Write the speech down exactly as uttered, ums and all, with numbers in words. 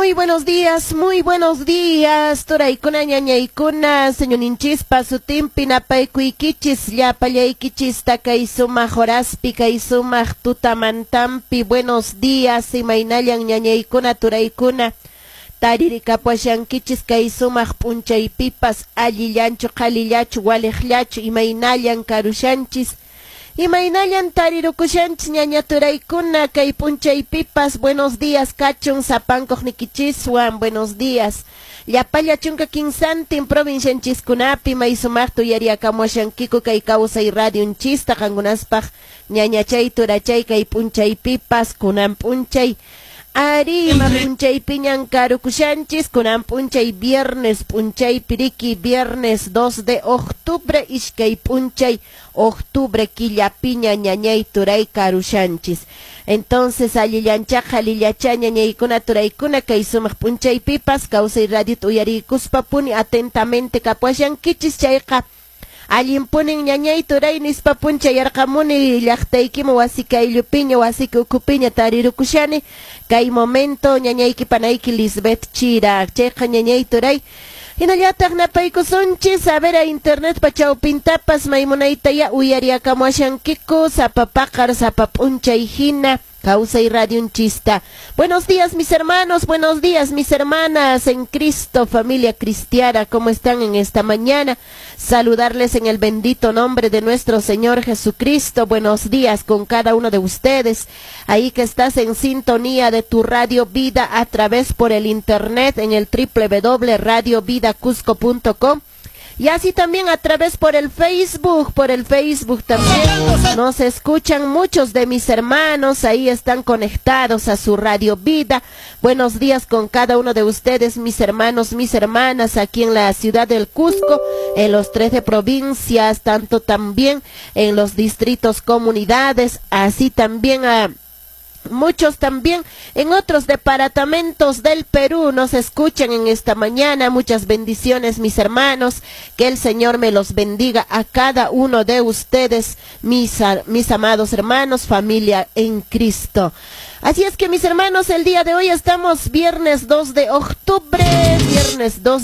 Muy buenos días, muy buenos días, turaykuna, ñañaykuna, señorninchispa sutinpi napaykuykichis, llapallaykichista kay sumaq horaspi, kay sumaq tutamantampi. Buenos días, imaynallan, ñañaykuna, turaykuna, taririkapuashankichis kay sumaq p'unchaypipas? Allillanchu, qhalillachu, waliqllachu, imaynallan karushanchis? Imaynallan tarirukushanchis, ñaña turaykuna, kay p'unchaypipas? Buenos días kachun sapankuqnikichiswan, buenos días. Llapalla chunka kinsantin provincianchiskunapi may sumaqta uyariakamuashankiku kay Kawsay Radionchista qankunaspaq, ñañachay, turachay, kay p'unchaypipas. Kunan p'unchay ari, ima p'unchaypiñan karukushanchis? Kunan p'unchay viernes p'unchaypi riki, viernes dos de octubre, iskay p'unchay octubre killapiña, ñañay, turay, karushanchis. Entonces, allillancha, qhalillacha, ñañaykuna, turaykuna, kay sumaq p'unchaypipas Kawsay Radiota uyariykuspa puni atentamente kapuashankichis chayqa, allinpunin, ñañay, turay, nispa punchayarqamuni llaqtaykiman, wasi kayllupiña, wasiki ukhupiña tarirukushani kay momento, ñañayki, panayki Lisbeth Chira. Chayqa, ñañay, turay, hinallataq napaykusunchis a ver a internet pa chawpintapas, maymunaytaya uyariakamuashankiku sapa paqar, sapa p'unchay hina Kawsay Radionchista. Buenos días, mis hermanos, buenos días, mis hermanas en Cristo, familia cristiana, ¿cómo están en esta mañana? Saludarles en el bendito nombre de nuestro Señor Jesucristo. Buenos días con cada uno de ustedes. Ahí que estás en sintonía de tu Radio Vida a través por el internet en el doble u doble u doble u punto radio vida cusco punto com. Y así también a través por el Facebook, por el Facebook también nos escuchan muchos de mis hermanos, ahí están conectados a su Radio Vida. Buenos días con cada uno de ustedes, mis hermanos, mis hermanas, aquí en la ciudad del Cusco, en los trece provincias, tanto también en los distritos, comunidades, así también a muchos también en otros departamentos del Perú nos escuchan en esta mañana. Muchas bendiciones, mis hermanos, que el Señor me los bendiga a cada uno de ustedes, mis, mis amados hermanos, familia en Cristo. Así es que, mis hermanos, el día de hoy estamos viernes dos de octubre, viernes dos